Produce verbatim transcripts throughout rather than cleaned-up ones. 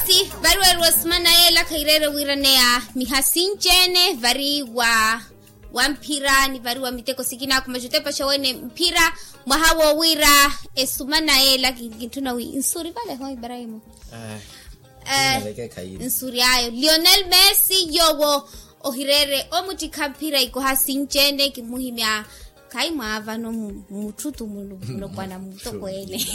Vari weeriwa esimana yeela khayireere wiiraneya miha sinci-ene vari wa wa mphira ni vari wa miteko sikinaakhu maxa otepaxa wene mphira mwaha woowiira esumana yeela kintthuna wi nsuri vale ho ibrahimu. Nsuri ayo lionel messi yoowo ohireere omuttikha mphira ikoha sinci-ene kimuhimya. Khayi mwaavano mutthuttu mulopwana mutokweene.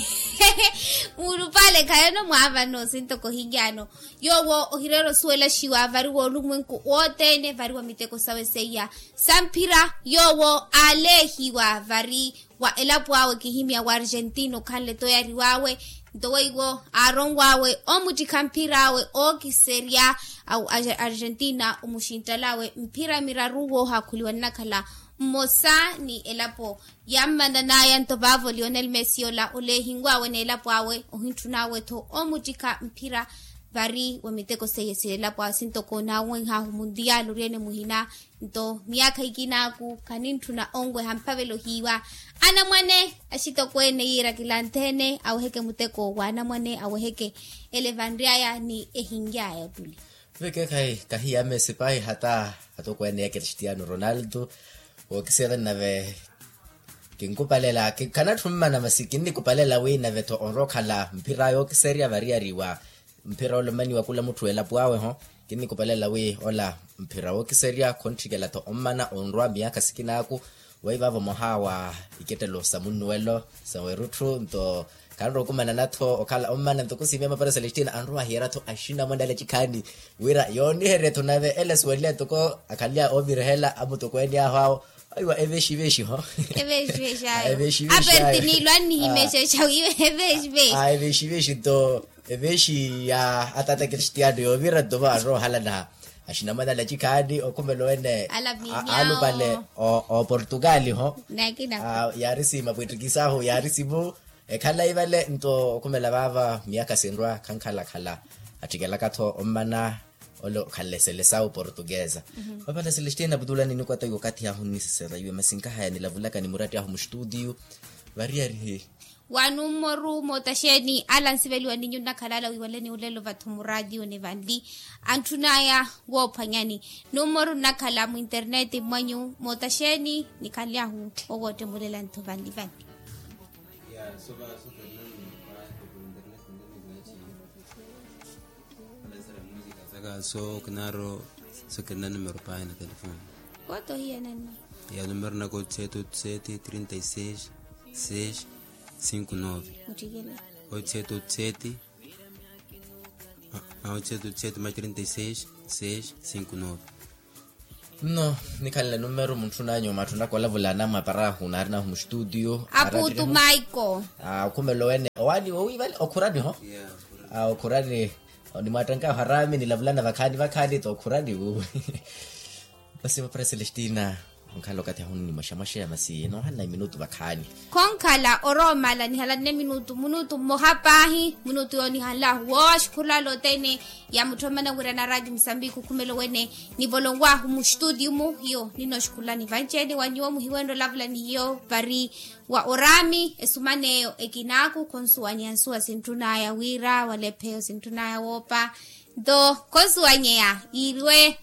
Mulupale khayi ono mwaavano sintoko ohiryano. Yoowo ohireera osuwelaxiwa vari woolumwenku wothene vari wa miteko sawe seiya sa mphira yoowo aaleehiwa vari wa elapo awe kihimya wa argentina okhanle toyari wawe. Nto weiwo aaronwaawe omuttikha mphir'awe ookiserya argentina omuxinttalawe mphira miraru woohaakhuliwa nnakhala mmosa ni elapo. Yammananaya nto vaavo lionel messi ola oleehinwaawe n'elapo awe ohintthunaawe-tho omuttikha mphira. Vari wa miteko seiye si elapo awe sintoko naawenhaahu muntiyali ori-ene muhina. Nto miyaakha ikinaaku khanintthuna onweha mphavela ohiiwa anamwane axitokweene yiira kilanthene aweheke muteko wa anamwane aweheke ele vanry'aya ni ehinry'aya ottuli. Vekekhayi kahiya messi pahi hata atokweene ya cristiano ronaldo. Wookisiyana nave kinkupalela khanatthi ommana masi kinnikupalela wi nave-tho onrowa okhala mphira yookiserya variyari wa mphira ole ommaniwa khula mutthu elapo awe ho. Kinnikupalela wi ola mphira wookiserya khontthikela-tho ommana onrowa miyaakha sikinaaku. Weivaavo moha wa ikettelo sa munnuwelo sa werutthu nto khanrowa okumanana-tho okhala ommana nto khusimeya mapara celestina anrowa ahiyera-tho axinamwane ale acikhaani wira yooniherye-tho nave ele asuweliye ntoko akhalle ovirihela amutokweene ahu awo. Aiwa evexivexiho. Evexivexiayo aperti niilo annihimexexa wiiwe evexivexiho. Evexivexiho nto evexivexiho ya atata cristiano yoovira nto vaaroohalana. Axinamwane ale acikhaani okhumelo wene alupale oportugali ho. Yaari siima pwettikisaahu yaari simu. Ekhalayi vale nto okhumela vaava miyaakha sinrwa khankhalakhala attikelaka-tho ommana ole okhalesele sawu portuguesa. Vapala celestina putulani nikwata iwe okathi ahu nnisisera iwe masi nkahaya nilavulaka ni muratti ahu mustutiyu. Variyari hi wa nummoru mootaxeeni ala nsiveliwa ninyu nnakhala ala wiiwaleni olelo vatthu muraatiyo ni vanli antthunaya woophwanyani. Nummoru nnakhala mwinterneti mwanyu mootaxeeni nikhanlyahu owoottemu olela nthu vanli vanli. Saka so kinaro so kinaro numero pahi na telefoni. Koto hiya nanni ya numero naka otsete otsete trinta e seis seis cinco nove. Otsete otsete otsete otsete ma trinta e seis seis cinco nove. Nno nikhanle numero muntthunanyu matthunaka olavula anamwaparahu naarinahu mustutiyo aputu maiko. Okhumelo wene owani wowi vale okhurani ho. Okhurani onimwatthankahu arami nilavulana vakhaani vakhaani to okhurani wowi. Masi vapara celestina onkhala okathi ahu nnimwaxamwaxeya masi noohanna minutu vakhaani. Khonkhala oroomala nihalanne minutu minutu mmoha paahi minutu yoonihanlahu woowa oxukhulala othene. Yamutthomana wira na radio musambiki okhumelo wene nivolonwahu mustutiyu mu hiyo ninooxukhulani vanci-ene wa nyuwo muhiwenre olavula ni hiyo vari wa orami esuman'eyo ekinaaku khonsuwanyeya nsuwa sintthunaya wira wala epheyo sintthunaya woopa. Nto khonsuwanyeya yiiriwe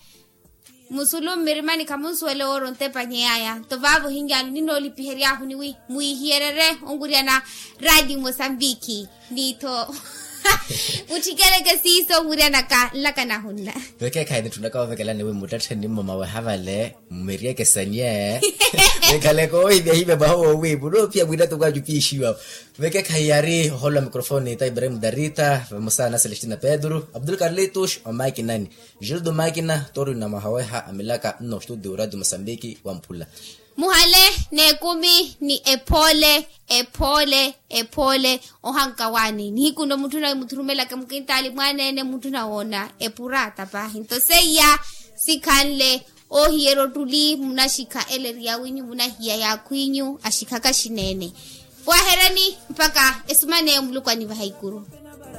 musulu mmirimani khamunsuwele woori ontepanyeyaya nto vaavo ohinyaani ninoolipiheryaahu niwi mwiihiyererye onwiriyana radio musambiki. Ni-tho mutthikeleke siiso onwiriyanaka nlakanahu nna. Vekeekhayi nitthunaka woovekelani wi muttattheni mmo maweha vale mmeryeke sanye. Vekhaleke oohimyahimya mwaha woowi munoophiya mwiinatoko anyu piixiwa. Vekeekhayi yaari ohoolo wa mikrofoni ta ibrahim darita vamosa na celestina pedro abdul carlitos omakinani. Gildo makina tori na mwaha weha amilaka nno studio radio mosambiki wamphula. Muhale n'ekumi ni ephoole ephoole ephoole. Ohanka waani nihiku nno mutthu na muthurumelaka mukintaali mwaneene mutthu na woona epuraata paahi nto seiya sikhanle. Oohiyerya ottuli munaxikha eleri yawinyu munahiya yaakhwinyu axikhaka xineene. Waherani mpakha esumaneyo muluku anivaha ikuru.